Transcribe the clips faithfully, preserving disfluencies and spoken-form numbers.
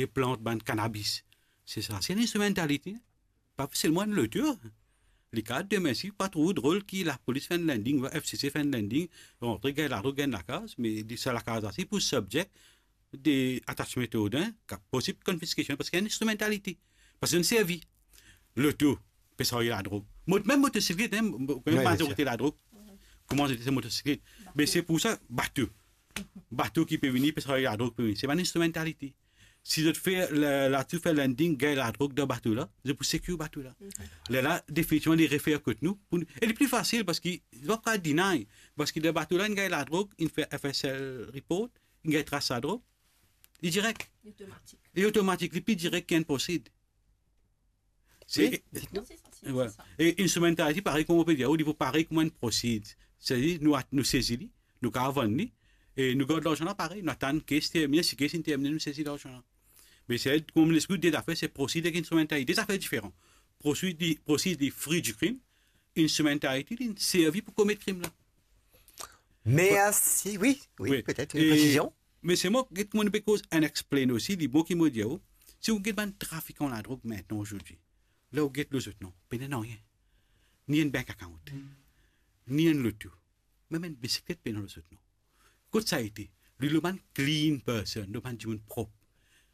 li plant bann kanabis. Se sa, se enn instrumentalite. Pa selman enn loto. Li kapav demin si pa trouv drol ki lapolis fer enn landing, F C C fer enn landing, rantre, gagn ladrog, gagn lakaz, me li, sa lakaz la, se pou subject de attachment order, ki posib konfiskasyon, parski enn instrumentalite. Parski zot servi loto pe sarye ladrog. Mot-, mem motosiklet, hein, mo-, wi, mazorite ladrog, kouma zot dir, se motosiklet. Me se pou sa, bato. Bato ki pe vini, pe sarye ladrog, pe vini. Se bann instrumentalite. Si zot fer la, la, zot fer landing, gagn ladrog dan bato la, zot pou sekir bato la. Lerla, definitivman, li refer kot nou, pou nou, e li pli fasil, parski zot pa kapav deny, parski dan bato la, inn gagn ladrog, inn fer F S L report, inn gagn tras ladrog, li direk. Li otomatik. Li otomatik, li pli direk ki enn prosid. Se, wi, non, se sa, se, wi, se sa. E instrumentality, parey kouma ou pe dir, ou li pou parey kouma enn prosid. Setadir, nou at-, nou sezi li, nou kapav vann li, e nou gard larzan la parey, nou atann kes termine, si kes inn termine, nou sezi larzan la. Me se, kouma lespri de zafer, se prosid ek instrumentality, de zafer diferan. Prosid li, prosid li frui di krim, instrumentality li servi pou komet krim la. Mersi, wi, wi, wi, petet enn e presizion. Me se mwa, get kouma nou pe koz unexplained osi, li bon ki mo dir ou, si ou get bann trafikan ladrog mintnan azordi, ler ou get lor zot non, pena nanye. Ni enn bank account, ni enn loto, mem enn bisiklet pena lor zot non. Kot sa ete? Li lor bann clean person, lor bann dimoun prop.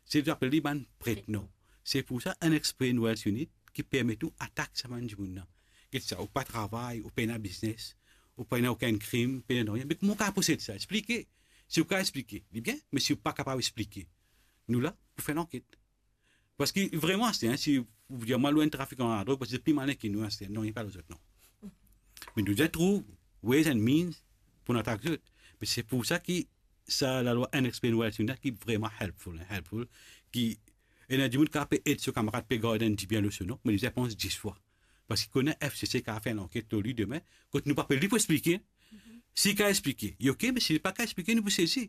Se li apel li bann pret non. Se pou sa, unexplained wealth unit ki permet ou atak sa bann dimoun la. Get sa, ou pa travay, ou pena biznes, ou pena okenn krim, pena nanye. Me kouma ou kapav posed sa? Explike. Si ou kapav explike, li bien, me si ou pa kapav explike, nou la pou fer lanket. Parski vreman, aster, hein, si ou dir mwa, lor enn trafikan ladrog, parski li pli malin ki nou, aster, non, li pa lor zot non. Me nou bizin trouv ways and means pou nou atak zot. Me se pou sa ki sa lalwa unexplained wealth unit la ki vreman helpful, hein, helpful, ki ena dimoun kapav pe ed so kamarad pe gard enn dibien lor so non, me li bizin pans dis fwa. Parski kouma F C C kapav fer lanket lor li demin, kot nou pa pe li pou explike. Si li kapav explike, li ok, me si li pa kapav explike, nou pou sezi.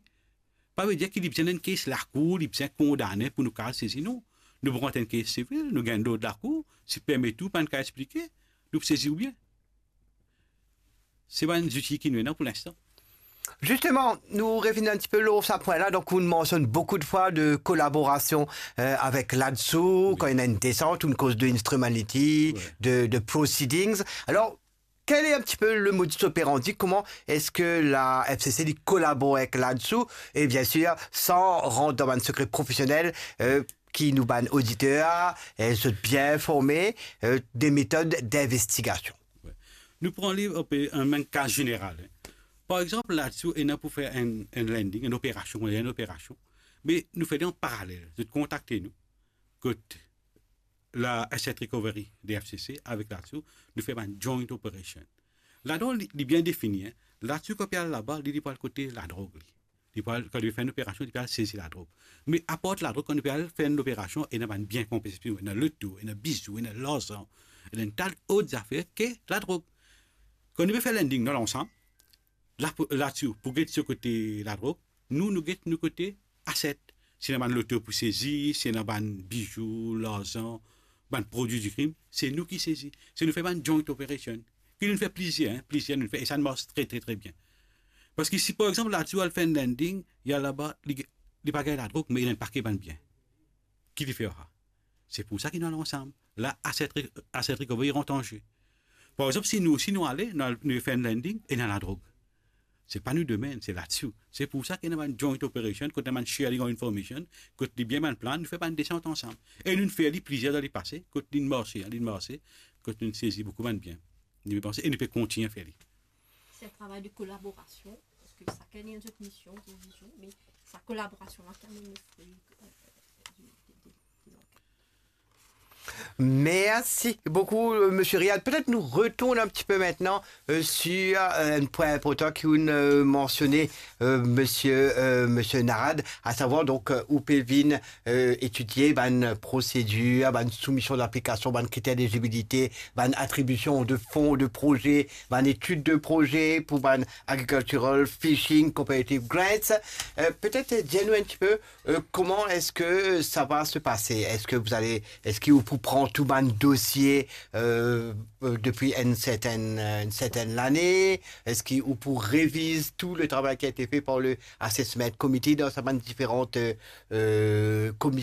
Pa vedir ki li bizin enn kes lakour, li bizin kondane pou nou kapav sezi, non. Nou pou rant enn kes sivil, nou gagn lord lakour, si permet ou pa'nn kapav explike, nou pou sezi ou bien. Se bann zouti ki nou ena pou linstan. Zisteman, nou revinn enn tipe lor sa pwin la. Donk, ou mansionn boukou de fwa de kolaborasion, euh, avek LADSU, wi, kan ena enn desant, ou koz de instrumentality, wi, de, de proceedings. Alor, quel est un petit peu le modus operandi? Comment est-ce que la F C C li kolabor avek LADSU? Et bien sûr, sans rentrer dans un secret professionnel, euh, ki nou bann oditer, euh, zot bien informe, euh, des méthodes d'investigation. Wi. Nou pran li, euh, enn, enn ka zeneral, hein. Par exanp, LADSU ena pou fer enn, enn landing, enn operasion, enn operasion. Me nou fer li an paralel. Zot kontakte nou. Kot la asset recovery de F C C avek LADSU, nou fer bann joint operation. Ladan, li, li bien defini, hein. LADSU, kan li pe al laba, li, li pou al kote ladrog, li. Li pou al, kan li fer enn operasion, li pe al sezi ladrog. Me apar ladrog, kan nou pe al fer enn operasion, ena bann bien konfiske, ena loto, ena bizou, ena larzan, ena enn ta lot zafer ki ladrog. Kan nou pe fer landing, nou al ansam, la, LADSU pou get so kote ladrog, nou, nou get nou kote asset. Si ena bann loto pou sezi, si ena bann bizou, larzan, bann prodwi di krim, se nou ki sezi. Se nou fer bann joint operation. Ki nou fer plizier, hein, plizier nou fer, e sa mars tre, tre, tre bien. Parski si, par exanp, LADSU al fer enn landing, li al laba, li, li pa gagn ladrog, me li ena enn pake bann bien. Ki li fer sa? Se pou sa ki nou al ansam. La, asset re-, asset recovery rant an ze. Par exanp, si nou, si nou ale, nou al, nou fer enn landing, ena ladrog. Se pa nou domenn, se LADSU. Se pou sa ki ena bann joint operation, kot ena bann sharing of information, kot li bien bann plan, nou fer bann desant ansam. E nou fer li plizier dan lepase, kot li marse, hein, li marse, kot nou sezi boukou bann bien. Nou pe panse, e nou pe kontigne fer li. C'est un travail de collaboration, parce que chacun a une autre mission, une vision, mais sa collaboration-là qui amène le fruit, euh, du, de, de, de l'enquête. Merci beaucoup, euh, monsieur Riad. Peut-être nous retournons un petit peu maintenant, euh, sur, euh, un point important que vous, euh, mentionnez, euh, monsieur, euh, monsieur Narad, à savoir donc, euh, ou pe vinn, euh, étudier bann prosedir, bann soumision d'aplikasion, bann kriter d'élizibilite, bann atribision de fon, de proze, bann etid de proze pou bann agricultural, fishing, competitive grants. Euh, peut-être, euh, dir nou un petit peu, euh, comment est-ce que ça va se passer? Est-ce que vous allez, est-ce que ou pou pran tou bann dosie, euh, euh, depuis une certaine, euh, une certaine année? Est-ce que ou pou reviz tout le travail qui a été fait par le assessment committee dans sa bann diferan, euh, euh, komision?